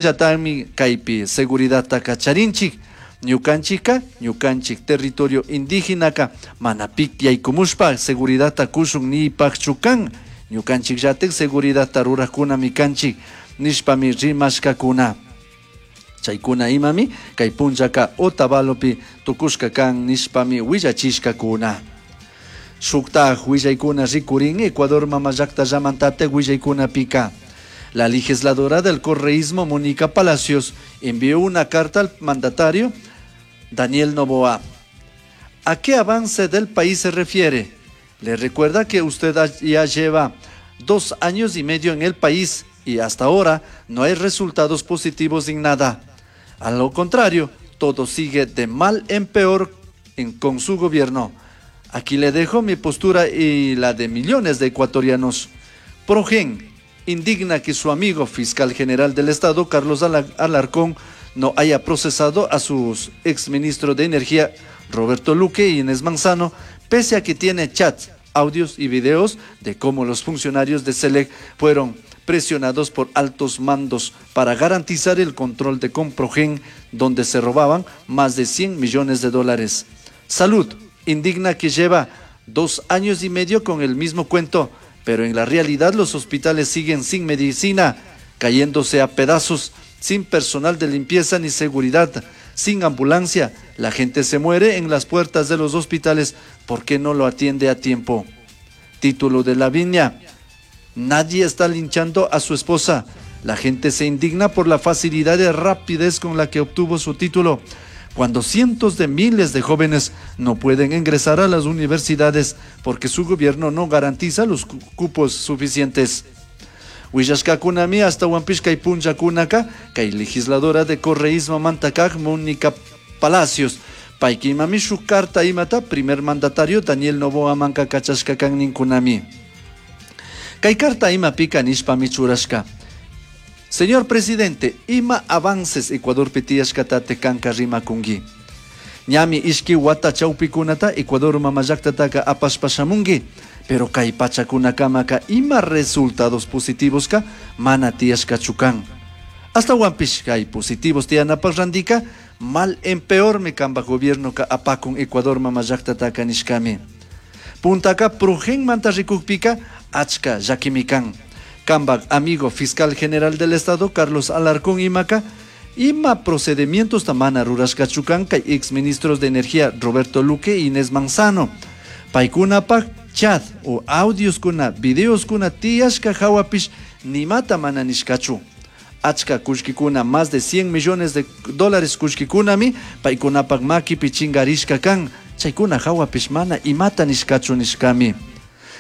Llatami kaypi seguridadtaka charinchik. Ñukanchikka, ñukanchik territorio indígenaka mana pik yaykumushpa seguridadta kushun niypakchu kan. Ñukanchikllatik seguridadta rurajkunami kanchik nishpami rimashkakuna. Chaykuna imami kay punllaka Otavalopi tukushka kan nishpami willachishkakuna. Shuktaj willaykuna rikurin Ecuador mama llaktallamantatik willaykunapika. La legisladora del correísmo Mónica Palacios envió una carta al mandatario Daniel Noboa. ¿A qué avance del país se refiere? Le recuerda que usted ya lleva 2 años y medio en el país y hasta ahora no hay resultados positivos en nada. A lo contrario, todo sigue de mal en peor con su gobierno. Aquí le dejo mi postura y la de millones de ecuatorianos. Progen indigna que su amigo fiscal general del Estado, Carlos Alarcón, no haya procesado a sus exministros de Energía, Roberto Luque y Inés Manzano, pese a que tiene chats, audios y videos de cómo los funcionarios de SELEC fueron presionados por altos mandos para garantizar el control de Comprogen, donde se robaban más de 100 millones de dólares. Salud indigna que lleva 2 años y medio con el mismo cuento, pero en la realidad los hospitales siguen sin medicina, cayéndose a pedazos, sin personal de limpieza ni seguridad, sin ambulancia. La gente se muere en las puertas de los hospitales porque no lo atiende a tiempo. Título de Lavinia. Nadie está linchando a su esposa. La gente se indigna por la facilidad y rapidez con la que obtuvo su título, cuando cientos de miles de jóvenes no pueden ingresar a las universidades porque su gobierno no garantiza los cupos suficientes. Willashkakunami ashtahuanpish kay punllakunaka kay legisladora de correísmo manta kaj Mónica Palacios payka imami shuk carta imata primer mandatario Daniel Noboa manka kachashka kan ninkunami. Kay carta imapika nishpami churashka. Señor presidente, ima avances Ecuadorpi tiyashkatatik kanka rimakunki. Ñami ishki wata chawpikunata Ecuador mama llaktataka apashpa shamunki, pero kay pachakunakamaka ima resultados positivos mana tiyashkachu kan. Ashtahuanpish kay positivos tiyanapak randika mal en peormi kanpak gobiernoka apakun Ecuador mama llaktataka nishkami. Puntaka Progenmanta rikukpika achka llakimi kan. Kanpak amigo fiscal general del Estado Carlos Alarcón imaka ima procedimientos mana rurashkachu kan kay ex ministros de Energía Roberto Luque e Inés Manzano. Paykunapak chat o audioskuna, videoskuna tiyashka hawapish nimata mana nishkachu. Achka kullkikuna, más de 100 millones de dólares kullkikunami paykunapak makipi chingarishka kan. Chaykuna hawapish mana imata nishkachu nishkami.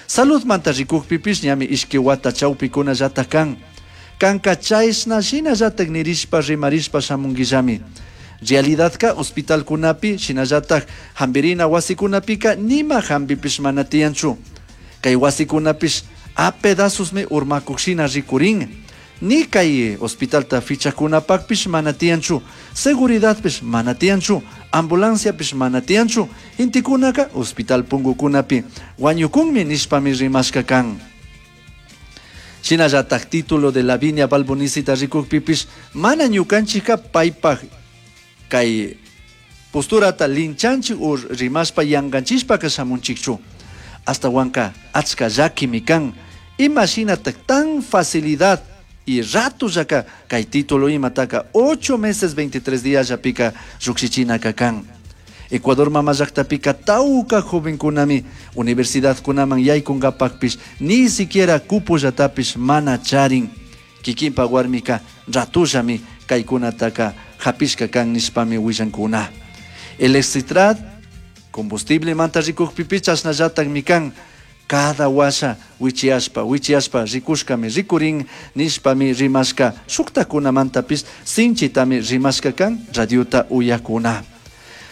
Salud manta rikukpipish ñami ishki wata chawpikunallata kan. Kanka chayshna shinallatak nirishpa rimarishpa shamunkillami. Realidadka hospitalkunapi shinallatak hambirina wasikunapika nima hambipish mana tiyanchu. Kay wasikunapish a pedazosmi urmakuk shina rikurin. Ni kay hospitalta fichakunapakpish mana tiyanchu. Seguridadpish mana tiyanchu. Ambulanciapish mana tiyanchu. Intikunaka hospital pungukunapi wañukunmi nishpami rimashka kan. Shinallatak título de Lavinia Balbonisita rikukpipish mana ñukanchikka paypak kay posturata linchanchik o rimashpa yankanchishpaka shamunchikchu. Ashtawanka achka llakimi kan. Ima shinatak tan facilidad y ratollaka kay título imataka 8 meses 23 días llapika llukshichinaka kan. Ecuador mama llaktapika tawka jovenkunami universidadkunaman yaykunkapakpish ni siquiera cupollatapish mana charin. Kikinpa warmika ratullami kaykunataka hapishka kan nishpami willankuna. Electricidad, combustible manta rikukpipish chashnallatakmi kan. Cada washa wichiashpa wichiashpa rikushkami rikurin nishpami rimashka shuktakunamantapish sinchitami rimashka kan radiota uyakuna.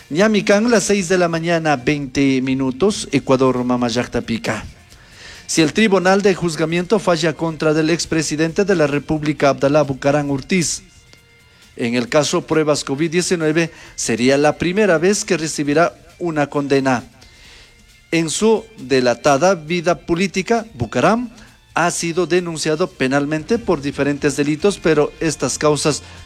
Ñami kan las 6 de la mañana 20 minutos, Ecuador mama llaktapika. Si el Tribunal de Juzgamiento falla contra del expresidente de la República, Abdalá Bucaram Ortiz, en el caso pruebas COVID-19, sería la primera vez que recibirá una condena. En su delatada vida política, Bucaram Ha sido denunciado penalmente por diferentes delitos, pero estas causas